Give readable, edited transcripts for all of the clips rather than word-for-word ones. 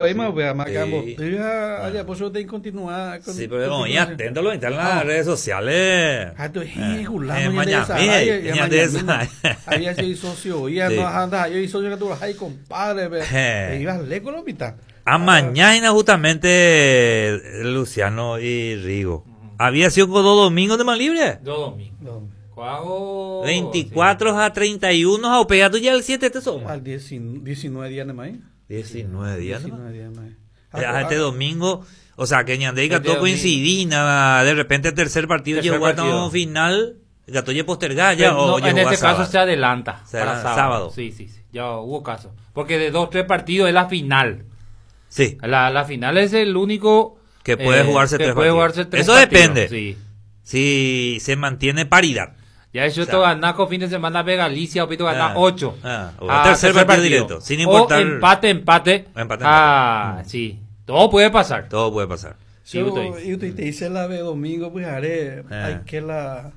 Oĩma upéva, makamboty ha ajapo chupe incontinua. Sí, pero oĩ atento lo mitad en las redes sociales. Ha tu eh, julano ñande ñande Había sido socio y no anda yo socio que tú vas ahí compadre, pe. Iba lejos lo mitad. A mañana justamente Luciano y Rigo. Había sido con dos domingos de más libre. Dos domingos. 24 a 31 a pegado ya el 7 te soma. Al 19 días de mayo. 19 días. 19 días de mayo. Ah, este domingo, o sea, que Ñandé y Gato coincidían, de repente el tercer partido llegó a final, Gato ya postergada ya o no, en este caso se adelanta se para adelanta, sábado. sábado. Sí, sí, sí, ya hubo caso. Porque de dos, tres partidos es la final. Sí. La final es el único que puede jugarse que tres puede partidos. jugarse tres Eso partidos, depende. Sí. Si se mantiene paridad. Ya eso O sea, ganaco fin de semana ve Galicia, Opito gana Ah, 8. ah, o tercer partido directo, sin importar- O empate, empate. Empate, Ah, empate. sí. Todo puede pasar. Todo puede pasar. Sí, Yo, usted. yo te hice la de domingo, pues haré, Ah. hay que la,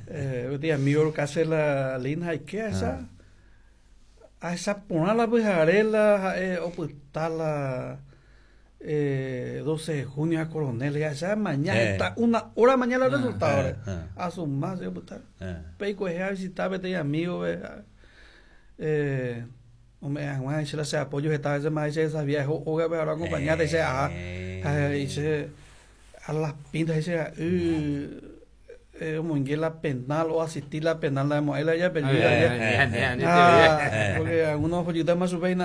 eh, amigo que hace la lina, hay que esa, a esa ponerla, pues haré la, o pues está la, 12 de junio a Coronel, ya esa mañana, está una hora mañana el resultado, a su más, yo, pues, está. Peico es a visitar, vete amigo, hombre, Juan, se le hace apoyo, esta vez más, dice, esa vieja, oiga, pero ahora acompañate, dice, ajá, dice, a las pintas, dice, como en la penal o asistir la penal, la hemos, él ya perdió, ya. Porque algunos follitos más supen,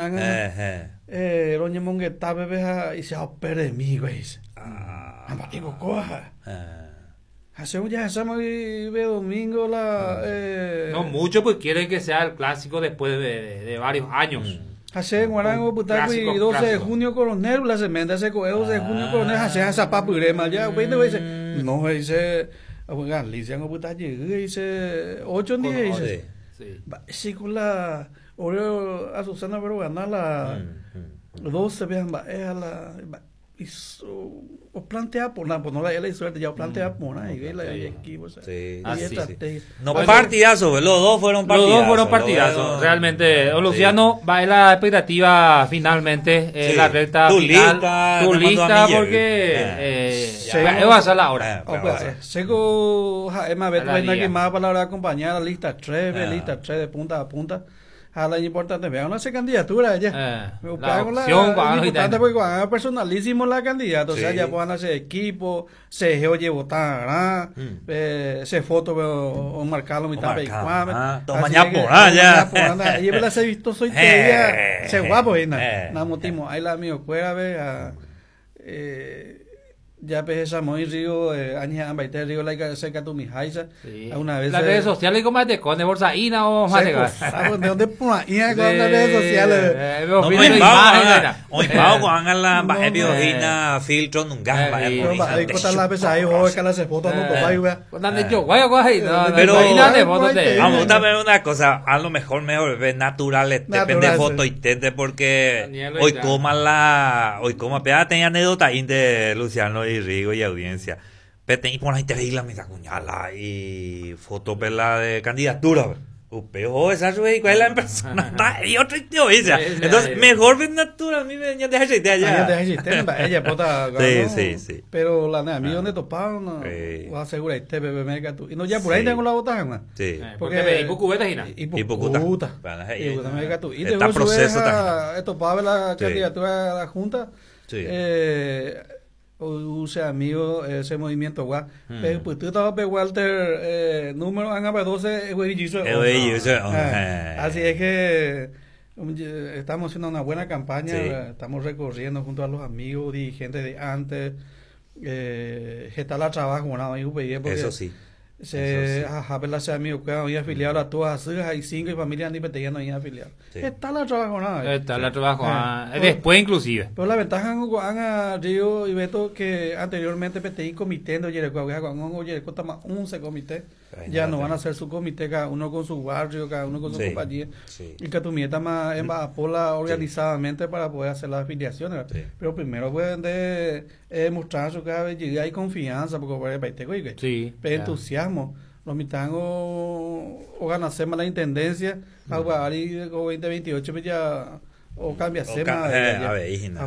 roñe mongueta, bebé, y se ha perdido mi, güey, dice. Ah, digo, coja. Hace un ya hacemos y ve domingo la No mucho, pues quieren que sea el clásico después de varios años. Hace guarango putaco y clásico, 12 de clásico. junio coronel la sementa se coge 12 de junio coronel hace esa papurema ya güey dice no dice Galicia no puta dice 8 días dice Sí. Sí con la Oreo a Susana pero ganar la 12 vean va a la hizo o plantea por nada, pues no la la suerte, ya o plantea por nada, y la equipo, Sí, y sí, estrategia. No, partidazo, los dos fueron partidazos. Los dos fueron partidazos, realmente. O Luciano, va en la expectativa finalmente, en Sí. la recta Tu final. lista, Tu te mando a lista, mí, porque va a ser la hora. O pues, seco, ja, es más, A la ve, día. que más para la hora de acompañar la lista 3, lista 3 de punta a punta. A la importante, vean, no hace candidatura ya. Me La pago la, opción, la, van es importante los porque van a personalísimo la candidata, o sea, Sí. ya puedan hacer equipo, se oye votar, se foto o marcarlo mitad marcar, ah, toma Así ya que, por ah, ya. toma por ah, Y yo se visto soy te se guapo, y na, na motimo, ahí la mío cuera ve a ya pe esa muy río aña ambaite río la cerca tu mijaisa Sí. una vez Las redes sociales como de con de bolsaína o más de ¿De dónde por ahí con las redes sociales? No, me me va, hagan la biojina filtro nunca. Pero ahí cortan la pesa ahí, joder, que las fotos no topa y vea. Pero Pero- vamos a ver una cosa, a lo mejor mejor ve natural, depende de foto y tente porque Daniel hoy ya. coma la, hoy coma, pero tenía anécdota ahí de Luciano y Rigo y audiencia. Pero y por ahí te la misa cuñala y foto la de candidatura. Upeo, esa sube cuál es la persona está y otro tío, Sí, sí, Entonces, sí. mejor ver natural, a mí me ya deja idea Ya ya. te existente, ella pota. Sí, ¿no? sí, sí. Pero la nea, a mí donde toparon, no. Sí. O asegura este bebé me tú. Y no ya por ahí Sí. tengo la bota, man. Sí. Porque me cubeta gina. Y Y pucuta. pucuta. Bueno, Y pucuta me tú. Y está te proceso proceso también. Esto para la Sí. candidatura a la Junta. Sí. Use amigo ese movimiento guau. Pero pues tú estabas pe Walter número han 12 güey Güey, Así es que estamos haciendo una buena campaña, Sí. estamos recorriendo junto a los amigos, dirigentes de antes, está la trabajo, ¿no? Ahí, porque Eso sí. Se, Eso sí. ajá, pero se amigo que había afiliado a todas las hijas y cinco y familias ni peteía no había afiliado. Sí. Está la trabajo, ¿no? Está la trabajo. Eh. Después inclusive. Pero la ventaja en a Río y Beto que anteriormente PTI comité de Yereco, Yereco está más 11 comité. Ay, Ya no, no van a sí. hacer su comité, cada uno con su barrio, cada uno con su Sí, compañía. sí. Y que tu está más en Apola organizadamente para poder hacer las afiliaciones. Sí. Pero primero pueden de, mostrar su cabellera y confianza, porque por el país Sí, Pe ya. entusiasmo. Los mitangos o ganarse más la intendencia, algo ahí 2028 pues ya Okambiaséma Oka- eh, avei hína.